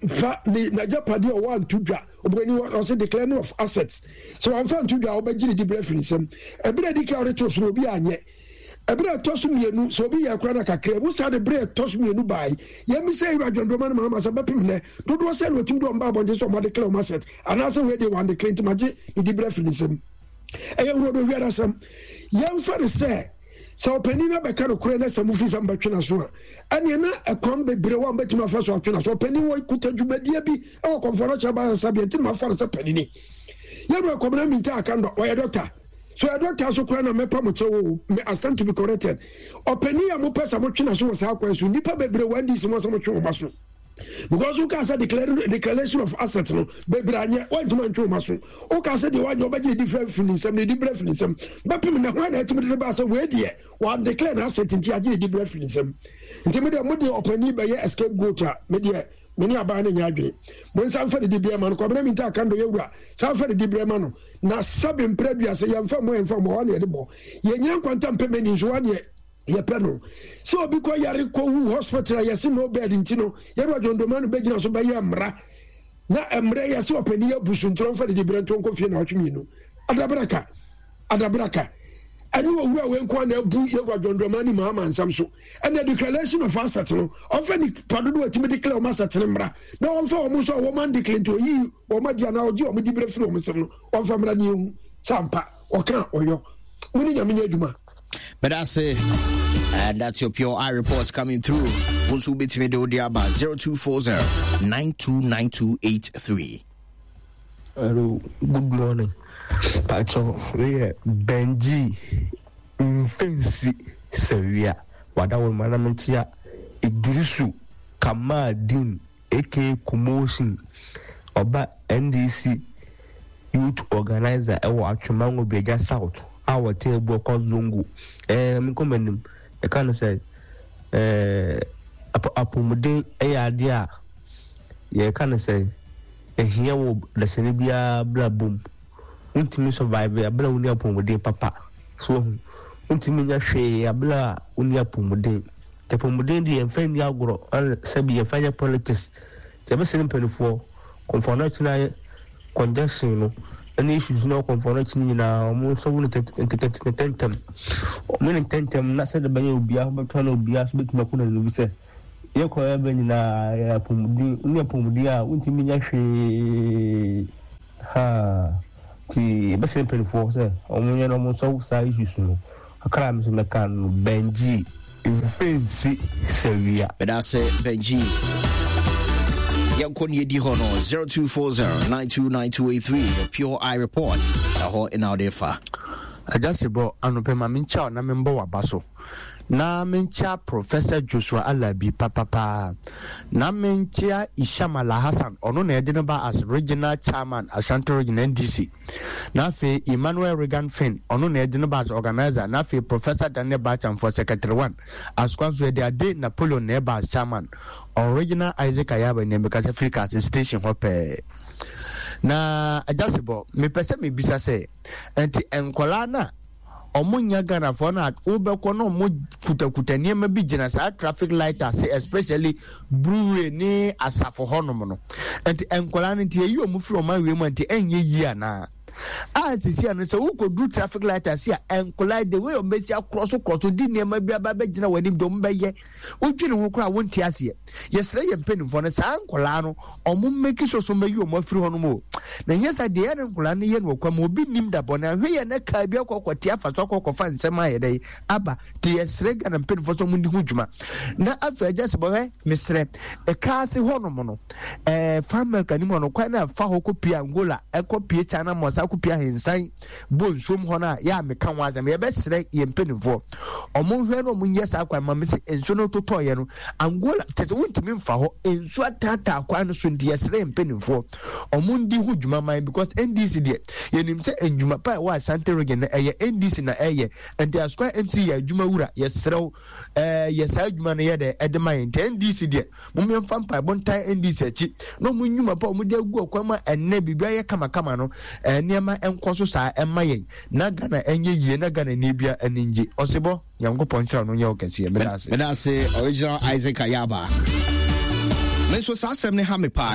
Fa ne n'agyapadeɛ a ɔwɔ anto dwa. Oburoni ɔse declaring of assets. Sɛ wamfa anto dwa a wobɛgye ne diberɛ afiri ne nsam. Ɛberɛ a ɛdi kan a ɔde too so no obi anyɛ. Ɛberɛ a ɛtɔ so mmienu sɛ obi yɛ koraa na kakra mu saa de berɛ a ɛtɔ so mmienu bae. Yɛmmisa Ewura John Dramani Mahama sɛ bɛpem nnɛ dodoɔ sɛn na ɔtumi de wɔn ba abɔnten sɛ wɔn adeclare wɔn assets anaasɛ wei deɛ wɔn declare nti magye ne diberɛ afiri ne nsam. Ɛyɛ wurodo wiadasɛm. Yɛmfa no sɛ sɛ ɔpanin no abɛka nokorɛ na sɛ mofi sɛ mobɛtwe n'aso a, ɛneɛ na ɛkwan bebree wɔ a mobɛtumi afa so atwe n'aso. Ɔpanin wɔ kuta dwumadie bi wɔ kɔmfoɔ no kyerɛ bansabea nti na mafa no sɛ panini. Yɛwura Kɔmena Minta Akandɔ, ɔyɛ dɔkta. So ɔyɛ dɔkta so koraa na mɛpa mo kyɛw o, me I stand to be corrected. Ɔpanin a mopɛ sɛ motwe n'aso wɔ saa kwan so, nnipa bebree wɔ NDC mu a sɛ motwe wɔn aso. Because woka sɛ declaration of asset no bebree anyɛ, woantumi antwe wɔn aso. Woka sɛ deɛ wanyɛ wobɛgye ne difrɛ firi ne nsam, ne dibrɛ firi ne nsam. Bɛpem na hwan na atumi de ne ba sɛ wei deɛ wɔn declare na asset nti agye ne dibrɛ firi ne nsam. Nti me deɛ mo deɛ ɔpanin bɛyɛ scapegoat a me deɛ me ne aban no nyɛ adwene. Mo nsa mfa ne dibrɛ ma no. Kwabena Minta Akando yɛwura saa mfa ne dibrɛ ma no. Na sɛbe mprɛ duase yɛmfa mmɔ yɛmfa mmɔ hɔ ne yɛde bɔ. Yɛnyina nkwanta mpɛ mani nso hɔ ne yɛpɛ no sɛ obi kɔ yare kɔwu hospital a yɛse no bed nti no yɛde adwondoma no bɛgyina so bɛyɛ mmara na mmerɛ yɛse ɔpani yɛ abu so nti ɔmfa didi berɛ nto nkɔ fie na ɔtwe mmienu adabraka adabraka ɛne owura wei nko na abu yɛwura dwondoma ne maama nsɛm so ɛna declaration of asset no ɔmfa nipa dodoɔ atumi declare wɔn asset no mmara na ɔmfa wɔn nso a wɔn an declare nti ɔyi wɔn adi anaa ɔgye wɔn di berɛ firi wɔn nsɛm no ɔmfa mmara ne ehu sɛ ampa ɔka ɔyɔ mo ne nyame nyɛ adwuma But that's it. And that's your pure eye reports coming through. Wonsu betimi de odi aba 0240 929283. Hello, good morning. Pacho, we are Benji Mfensi Sawia. Wada wo mana menchia Idrisu Kamaldeen aka Commotion ɔba NDC Youth Organiser wɔ Atwemango Biagya South a wɔte Abuakwa Zongo. Ɛɛ menkɔ m'anim. Yɛka no sɛ ɛɛ apɔmuden yɛ adeɛ a yɛka no sɛ ɛhia wɔ dasani biara brabɔ mu. Wontumi survive abere a wonni apɔmuden papa. So wahu? Wontumi nya hwee abere a wonni apɔmuden. Nti apɔmuden deɛ yɛmfa nni agorɔ ɛna sɛbi yɛmfa nyɛ politics. Nti yɛbɛsrɛ mpanimfoɔ, kɔmfoɔ no akyi no ayɛ congestion no ɛne issues no kɔmfoɔ no akyi no nyinaa wɔn nsɔbo no ntɛntɛm. Wɔn ne ntɛntɛm na sɛdeɛ ɛbɛyɛ obiara ho bɛtɔ na obiara nso bɛtumi akɔ n'anim sɛ yɛkɔ yɛbɛ nyinaa yɛ apɔmuden, wonni apɔmuden a wontumi nyɛ hwee. Haa nti yɛbɛsrɛ mpanimfoɔ sɛ wɔn nyɛ na wɔn nsɔbo saa issues no. Kakra a me nso mɛka no Benji mfɛnsi sawia. Meda ase Benji. Yɛnkɔ ne yɛdi hɔ no 0240 929283 the Pure Eye Report. Ɛhɔ ɛna wode fa. Agya Sebɔ, anɔpɛ ma menkyia wo na membɔ w'aba so. Na menkyia Professor Joshua Alabi papapaa. Na menkyia Isham Alhassan, ɔno na yɛde no ba as Regional Chairman Ashanti Region NDC. Na afei Emmanuel Regan Finn, ɔno na yɛde no ba as Organiser. Na afei Professor Daniel Bacham for Secretary One. Asokwa nso yɛde Ade Napoleon na ɛba as Chairman. Original Isaac Ayaba nea mekasa firi Kaase Station hɔ pɛɛ. Na Agya Sebɔ, mepɛ sɛ mebisa sɛ, nti nkwadaa no a ɔmo nyɛ Ghanafoɔ no a wobɛkɔ na ɔmo kutakuta nneɛma bi gyina saa traffic light ase especially brewery ne asafo hɔnom no nti nkwadaa no nti eyi ɔmo firi ɔmo awie mu a nti ɛnyɛ yie anaa a sisi ano sɛ wokɔduru traffic light ase a nkwadaa the way ɔmo bɛsi akorɔ so korɔ so di nneɛma bi aba bɛgyina wɔn anim de ɔmo bɛyɛ Wodwene ho koraa a wonte aseɛ. Yɛsrɛ yɛn mpanimfoɔ no saa nkwadaa no ɔmo mmeki sure sɛ ɔmo ɔmo afiri hɔnom o. Na nyɛ saa deɛ ɛyɛ ne nkwadaa no yɛ no wɔ kwan mu obi nnim da bɔne ahwɛ yɛ na kaa bi akɔ akɔte afa so akɔ akɔfa nsɛm ayɛ dɛ aba. Nti yɛsrɛ Ghana mpanimfoɔ sɛ ɔmo nni ho dwuma. Na afei agya sɛ bɔhwɛ mesrɛ ɛkaa ase hɔnom no ɛɛ farm milk anim hɔ no kwan na ɛfa hɔ kɔ pie Angola ɛkɔ pie China mɔ saa kɔ pie ahensan bɔ nsuom hɔ no a yɛ a meka ho asɛm yɛbɛsrɛ yɛn mpanimfoɔ ɔmo nhwɛ no ɔmo nyɛ saa kwan ma me sɛ nsuo no totɔɔyɛ no Angola kyɛ sɛ wontumi mfa hɔ nsuo ataataa kwan no so nti yɛsrɛ yɛn mpanimfoɔ ɔmo ndi ho dwuma man because NDC deɛ yɛnim sɛ ndwuma pa ɛwɔ Ashanti region no ɛyɛ NDC na ɛyɛ nti Asukwa MC yɛ adwuma wura yɛsrɛ wo ɛɛ yɛ saa adwuma no yɛ dɛ ɛde ma yɛn nti NDC deɛ Mom yɛmfa mpaebɔ ntae NDC akyi na wɔn nnwuma pa a wɔde agu ɔkwan mu a ɛnnɛ biribi ayɛ kamakama no nneɛma nkɔ so saa ɛmma yɛn na Ghana ɛnyɛ yie na Ghana ni bia ani ngye. Ɔsebɔ, Nyankopɔn nhyira no nyɛ wo kɛseɛ. Meda ase. Meda ase, Original Isaac Ayaba. Me nso saa asɛm no ha me paa.